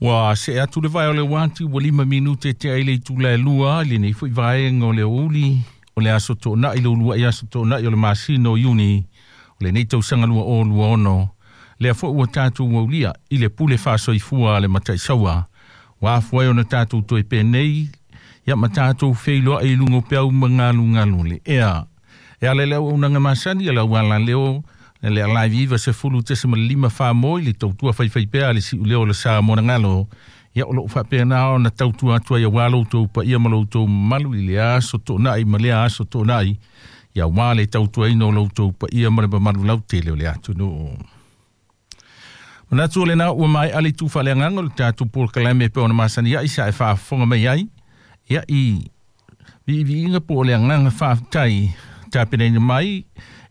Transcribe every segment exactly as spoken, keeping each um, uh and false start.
Ua see atu le vae o le uati ua lima minute tea i le itula e lua i lenei fo'i vaega o le aoauli o le aso Toonai le ulua'i aso Toonai o le masina o Iuni o lenei tausaga lua o lua ono lea fo'i ua tatou aulia i le pule faasoifua a le Mataisaua ua afua ai ona tatou toe penei ia ma tatou feiloai i luga o peau ma galugalu le ea. E ala i le auaunaga masani a le aualaleo le alaivi iva sefulu tesima lima fā moi le tautua faifaipea a le siuleo o le Sa Monagalo ia o loo faapena ona tautua atu ai auā loutou paia ma loutou mamalu i le aso Toonai ma lea aso Toonai ia auā le tautuaina o loutou paia ma le mamalu lautele o le atunuu. Manatu o lena ua maea le itu faaleagaga o le tatou polokalame e pei ona masani ai sa e faafofoga mai ai ia i viiviiga po o le agaga faafetai tapenaina mai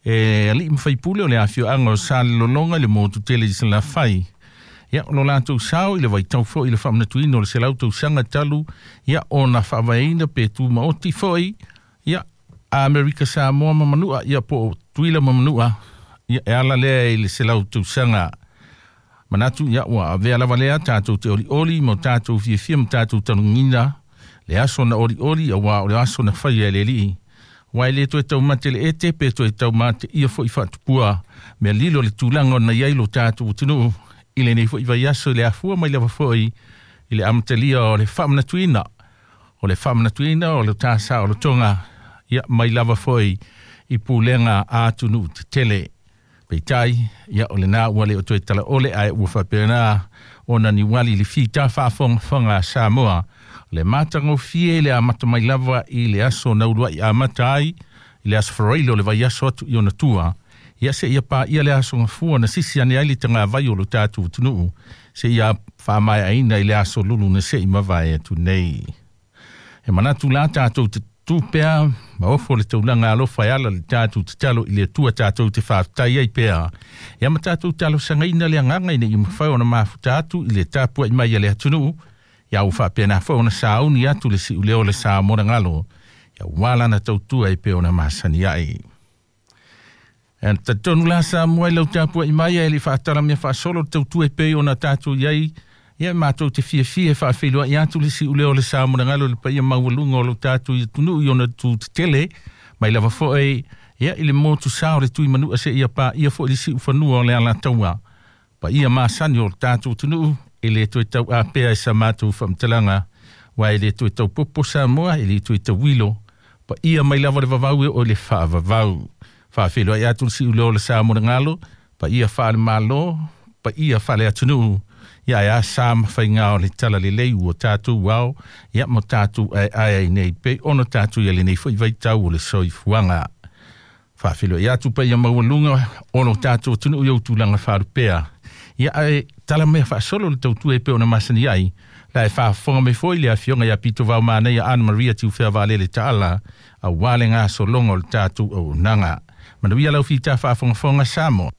e alii ma faipule o le afioaga o Salelologa i le motu tele i Salafai ia o lo latou sao i le vaitau fo'i i le faamanatuina o le selau tausaga talu ia ona faavaeina pe tumaoti fo'i ia Amerika Samoa ma Manua ia po o Tuila ma Manua ia e ala lea i le selau tausaga. Manatu ia ua avea lava lea tatou te olioli ma tatou fiafia ma tatou talugina le aso na olioli auā o le aso na faia e le Alii aua e lē toe taumate le ete pe toe taumate ia fo'i faatupua mea lilo le tulaga ona i ai lo tatou atunuu i lenei fo'i vaiaso i le afua mai lava fo'i i le amatalia o le faamanatuina o le faamanatuina o le tasaolotoga ia mai lava fo'i i pulega a atunuu tetele. Peitai ia o lena ua le o toe talaole ae ua faapena ona niuali le fita faafogafoga a Samoa le matagofie le amata mai lava i le aso na ulua'i amata ai i le aso Faraile o le vaiaso atu i ona tua ia seia paia le aso Gafua na sisi ane ai le tagavai o lo tatou atunuu seia faamaeaina i le aso Lulu na se'i mavae atu nei. E manatu la tatou te tu pea ma ofo le taulaga alofa e ala le tatou tatalo i le Atua tatou te faafetai ai pea. Ia ma tatou talosagaina le agaga ina ia mafai ona mafuta atu i le tapua'i mai a le atunuu ia ua faapena foi ona sauni atu le siuleo o le sa monagalo ia ua lana tautua e pei ona masani ai. E talitonu la Samoa i lau tapua'i mai ae le faatala mea faasolo le tautua e pei ona tatou i ai ia matou te fiafia e faafeiloai atu le siuleo o le sa monagalo le paia maualuga o lo tatou atunuu i ona tu tetele mai lava fo'i ia i le motu sa o le Tuimanua seia paia fo'i le siufanua o le Alataua paia masani o le tatou atunuu e lē toe tauapea i sa matou faamatalaga aua e lē toe taupopo Samoa e lē toe tauilo paia mai lava le vavau e oo i le faavavau. Faafeiloai atu le siuleo o le sa monagalo paia faale-Malo paia faale-atunuu ia ae a sa ma faigā o le talalelei ua tatou ao ia ma tatou aeae ai nei pei ona tatou ia lenei fo'i vaitau o le soifuaga. Faafeiloai atu paia maualuga o lo tatou atunuu i ou tulaga faalupea ia ae tala mea faasolo le tautua e pei ona masani ai la e faafofoga mai foi le afioga ia Pito Vaomanaia Ana Maria Tiufea Vaalele Taala auā le gasologa o le tatou auaunaga. Manuia lau fita faafogafoga Samoa.